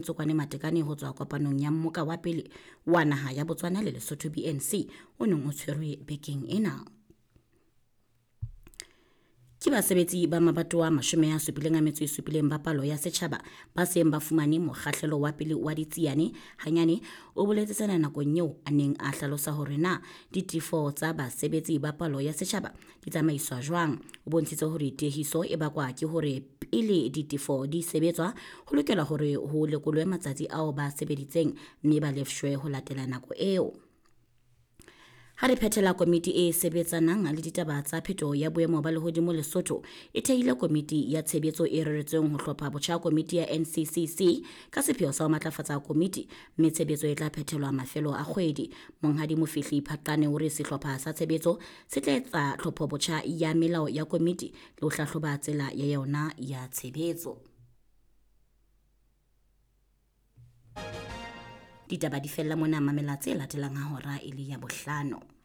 Tsokwane Matekane ho tswa kopanong ya mmoka wa pele wa naha ya Botswana le Lesotho BNC o neng o tshwerwe bekeng ena. Ke basebetsi ba mabatowa 77 ba palo ya setjhaba ba seng ba fumane mokgahlelo wa pele wa ditsiane. Hanyane o boletse sena nakong eo a neng a hlalosa hore na ditefo tsa basebetsi ba palo ya setjhaba di tsamaiswa jwang. O bontshitse hore tiehiso e bakwa ke hore pele ditefo di sebetswa ho lokela hore ho lekolwe matsatsi ao ba sebeditseng mme ba lefshwe ho latela nako eo. Ha re phethela komiti e sebetsanang le ditaba tsa phetoho ya boemo ba lehodimo Lesotho e thehile komiti ya tshebetso e reretsweng ho hlopha botjha komiti ya NCCC ka sepheo sa ho matlafatsa komiti mme tshebetso e tla phethelwa mafelo a kgwedi. Monghadi Mofihli Phaqane o re sehlopha sa tshebetso se tla etsa tlhopho botjha ya melao ya komiti le ho hlahloba tsela ya yona ya tshebetso. Ditaba di fella mona, mamela tse latelang ha hora e le ya bohlano.